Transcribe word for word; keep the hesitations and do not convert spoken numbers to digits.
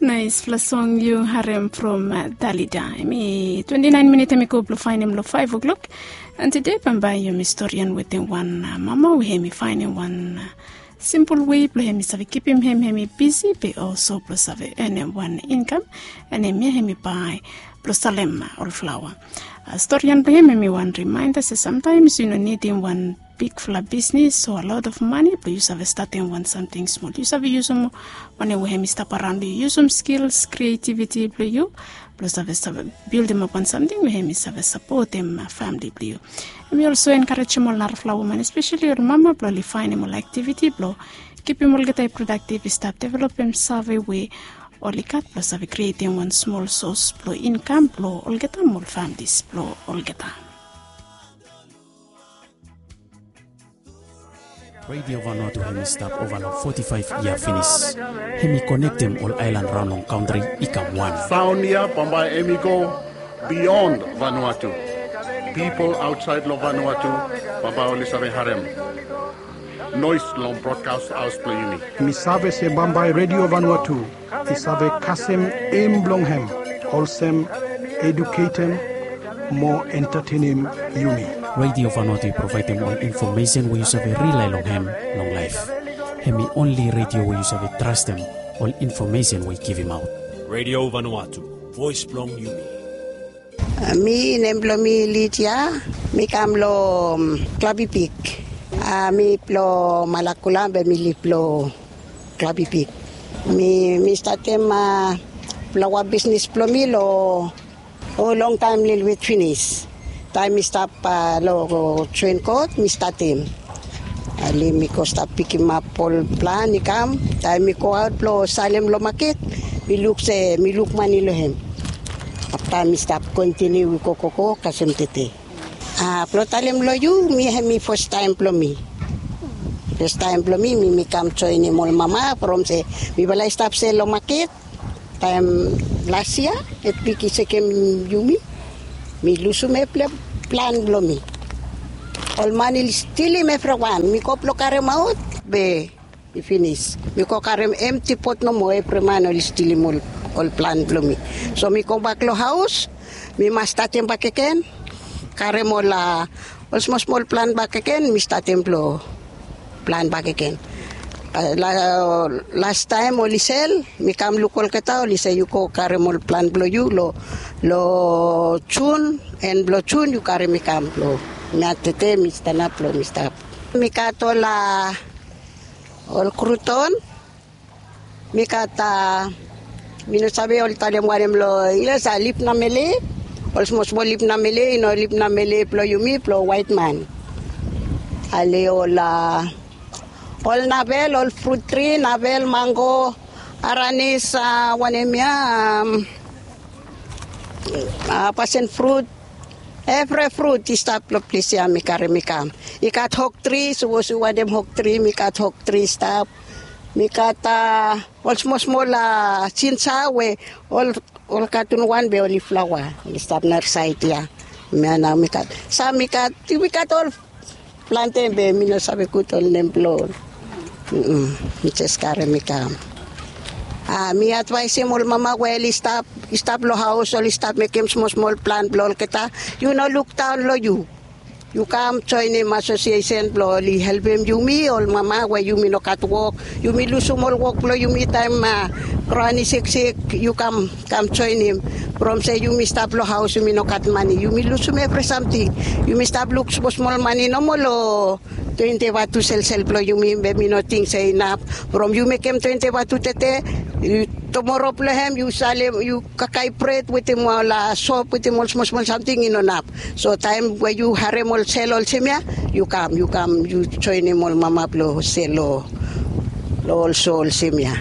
Naispela song yu harem from Dalida. Em i twenti naen minit em i go blong faenem long faef o'klok. An tude bambae yumi storian wetem wan mama we em i faenem wan simpol wei blong em i save kipim hem hem i bisi be olso blong save enem wan inkam. An em ya em i bae blong salem ol flaoa. Storian blong hem em i wan rimaenda se samtaems yu no nidim wan bigfala bisnis o a lot of mane blong yu save statem wan samting smol. Yu save yusum wanem we hem i stap araon blong yu, yusum skils, krietiviti blong yu blong save save bildimap wan samting we hem i save sapotem famili blong yu. Hem i olso enkarejem ol narafala woman espeseli ol mama blong oli faenem ol aktiviti blong kipim olgeta i prodaktiv i stap developem save we oli gat blong save krietem wan smol sos blong inkam blong olgeta mo ol familis blong olgeta. Radio Vanuatu hem i stap ova long foti faef yia finis. Hem i konektem ol aelan raon long kantri i kam wan. Saon ya bambae hem i go beyond Vanuatu. Pipol aotsaed long Vanuatu bambae oli save harem noes long brodkas haos blong yumi. Mi save se bambae Radio Vanuatu i save kasem em blong hem olsem eduketem mo entatenem yumi. Radio Vanuatu i provaedem ol infomesen we yu save rilae long hem long laef. Hem i onli radio we yu save trastem ol infomesen we i givimaot. Radio Vanuatu, voes blong yumi. Mi nem blong mi Lidia. Mi kam long Klabipik. Mi blong Malakula be mi lif long Klabipik. Mi mi statem flaoa bisnis blong mi long o longtaem lelewet finis. Taem mi stap long joen kot mi statem. Ale mi go stap pikimap ol plan i kam. Taem mi go aot blong salem long maket mi luk se mi luk mane long hem. Afta mi stap kontiniu i go gogo kasem tete. A blong talem long yu mi hem i fastaem blong mi. Fastaem blong mi mi mi kam joenem ol mama from se mifala i stap sel long maket. Taem las yia etbik i sekem yumi mi lusum evri plan blong mi. Ol man i stilim evriwan mi go blong karemaot be i finis. Mi go karem emti pot nomo evri man oli stilim ol plan blong mi. So mi gobak long haos mi mas statem bakegen karem ol a ol smol smol plan bakegen mi statem blong plan bakegen. Lastaem oli sel mi kam luk olgeta oli se yu go karem ol plan blong yu long jun en blong jun yu karem i kam blong mi atete mi stanap blong mi stap. Mi gat ol a ol kruton. Mi gat a mi no save oli talem wanem long inglis a lip namele. Ol smol smol lip namele i no lip namele blong yumi blong waetman. Ale ol a ol navel ol frut tri navel mango aranis a wanem ya a pasen frut. Evri frut i stap long ples ya mi karim i kam. I gat hoktri sapos yu wantem hoktri mi gat hoktri i stap. Mi gat a ol smol smol a jinja we ol ol katun wan be oli flaoa oli stap narasaed ya. Mia nao mi gat sam mi gat yu mi gat ol plante be mi no save gud ol nem blong ol. Mi jes karim i kam. A mi advaesim ol mama we oli stap i stap long haos oli stap mekim smol smol plan blong olgeta. Yu no lukdaon long yu. Yu kam joenim asosiesen blong oli helpim yumi ol mama we yumi no gat wok. Yumi lusum ol wok blong yumi taem a graon i siksik yu kam kam joenim. From se yumi stap long haos yumi no gat mane yumi lusum evri samting. Yumi stap luk smol smol mane nomo long twenti vatu selsel blong yumi be mi no ting se inap. From yu mekem twenti vatu tete tumoro blong hem yu salem yu kakae bret wetem ol a sop wetem ol smol smol samting i no nap. So taem we yu harem ol sel olsem ya yu kam yu kam yu joenim ol mama blong sel long ol so olsem ya.